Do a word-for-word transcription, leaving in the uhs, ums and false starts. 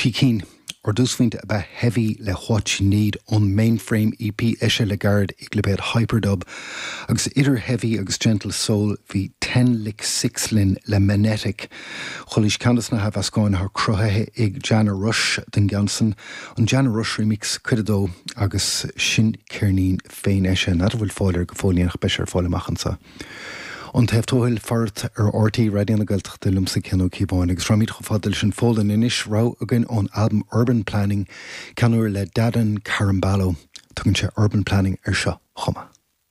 Trí cinn. Ár dtúsphointe ab ea Heavy le What You Need ón Mainframe EP eisithe le gairid ag lipéad Hyperdub, agus idir Heavy agus Gentle Soul bhí Ten Lick Six linn le Magnetic. Chualaís ceann de na hathmheascáin atá cruthaithe ag Jana Rush den gceann san, an Jana Rush Remix cuid a dó agus sin ceirnín féin eisithe. N'fheadar an bhfuil fáil air go fóill ach beidh sé ar fáil amach anseo. An Taobh Tuathail faracht ar RTÉ Raidió na Gaeltachta liomsa Cian Ó Cíobháin agus rachaimid chomh fada leis an Pholainn anois rogha againn ón albam Urban Planning ceann úr le Dadan Karamballo. Tugann sé Urban Planning ar seo chomh maith.